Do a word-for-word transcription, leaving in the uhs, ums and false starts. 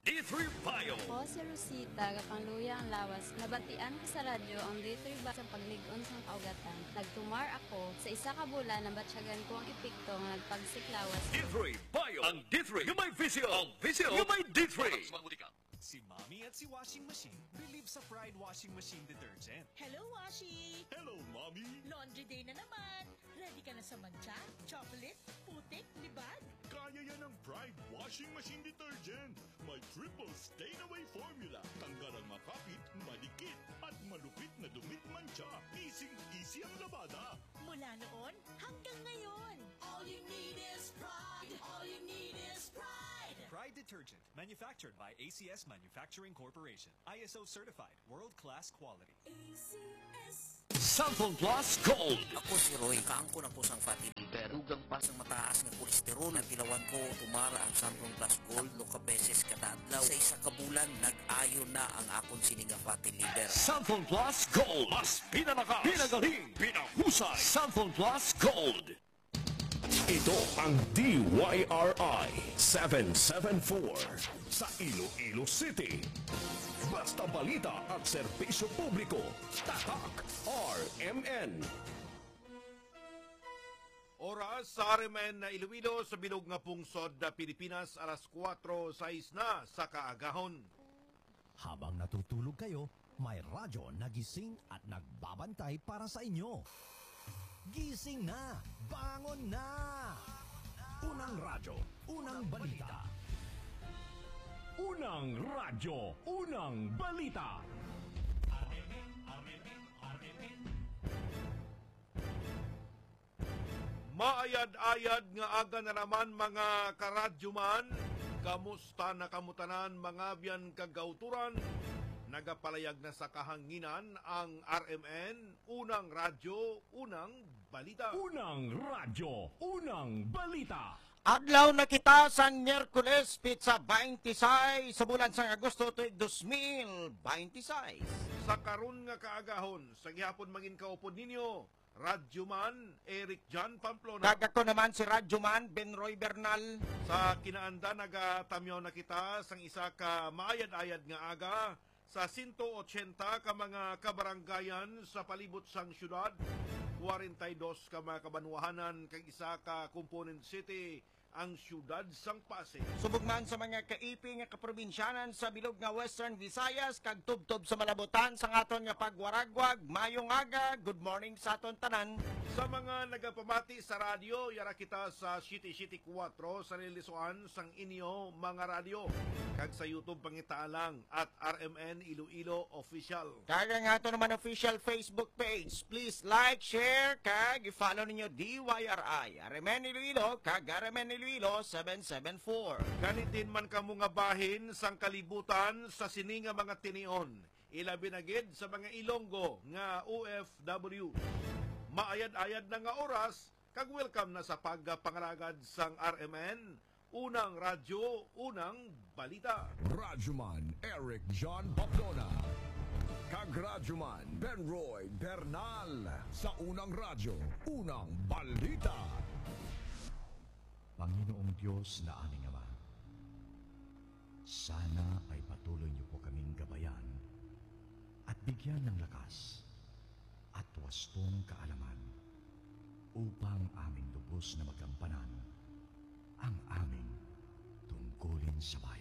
D three Bio. Ako si Rosita, gapangluya ang lawas. Nabatian ko sa radyo ang D three Bio sa paglig-on sang kaugatan. Nagtumar ako. Sa isa ka bulan, nabatyagan ko ang epekto nga nagpagsik lawas. D three Bio. Ang D three nga may visyo. Ang visyo nga may D three. Si Mommy at si Washing Machine believe sa Pride Washing Machine Detergent. Hello, Washi! Hello, Mommy! Laundry day na naman! Ready ka na sa mancha, chocolate, putik, libag? Kaya yan ng Pride Washing Machine Detergent. May triple stain away formula. Tanggal ang makapit, madikit, at malupit na dumi, mancha. Easy-easy ang labada. Mula noon hanggang ngayon. All you need is Pride. All you need is Pride. Pride Detergent, manufactured by A C S Manufacturing Corporation. I S O certified, world-class quality. A C S. Sample Plus Gold. Ako si Roy. Kaangkon ako sang fatty liver. Dugang pa sang mataas nga kolesterol. Natilawan ko, tumara ang Sample Plus Gold, lo ka beses kada adlaw. Sa isa ka bulan, nag-ayo na ang akon sini nga fatty liver. Sample Plus Gold. Mas pinalakas, pinagaling, pinahusay. Sample Plus Gold. Ito ang D Y R I seven seven four sa Iloilo City. Basta balita at serbisyo publiko, tatak R M N. Oras sa R M N na Iloilo sa bilog nga pungsod na Pilipinas, alas kuwatro sais na sa kaagahon. Habang natutulog kayo, may radyo na gising at nagbabantay para sa inyo. Gising na! Bangon na! Unang radyo, unang balita. Unang radyo, unang balita. Maayad-ayad nga aga na naman, mga karadyoman. Kamusta na kamo tanan, mga abyan kag kauturan? Nagapalayag na sa kahanginan ang R M N, unang radyo, unang balita. Unang radyo, unang balita. Adlaw na kita sang Miyerkules, petsa twenty-six sa bulan sang Agosto, tuig dos mil twenty-six. Sa karon nga kaagahon, sa gihapon mangin kaupod ninyo, Radyoman Eric John Pamplona. Kag ako naman si Radyoman Ben Roy Bernal. Sa kinaandan, nagatamyaw na kita sang isa ka maayad-ayad nga aga sa sento ochenta ka mga kabarangayan sa palibot sang siyudad, kwarenta y dos ka mga kabanwahanan, kag isa ka component city, ang siyudad sang Pasig. Subong man sa mga kaipi nga kaprobinsyanan sa bilog nga Western Visayas kag tubtob sa malabutan sang aton nga pagwaragwag, maayong aga, good morning sa aton tanan. Sa mga nagapamati sa radyo, yara kita sa siyete siyete kuwatro sa lilisuan sang inyo mga radyo, kag sa YouTube pangita lang at R M N Iloilo Official. Kag ang ato naman official Facebook page. Please like, share, kag i-follow ninyo D Y R I, R M N Iloilo, kag R M N Iloilo seven seven four. Kanitin man kamo nga bahin sang kalibutan sa sini nga mga tinion, ilabi na gid sa mga Ilonggo nga O F W. Maayad-ayad na nga oras, kag welcome na sa pagpangalagad sang R M N, unang radyo, unang balita. Radyoman Eric John Pamplona kag Radyoman Ben Roy Bernal sa unang radyo, unang balita. Panginoong Dios na aming Ama, sana ay patuloy niyo po kaming gabayan at bigyan ng lakas at wastong kaalaman upang aming lubos na magampanan ang aming tungkulin sa bayan.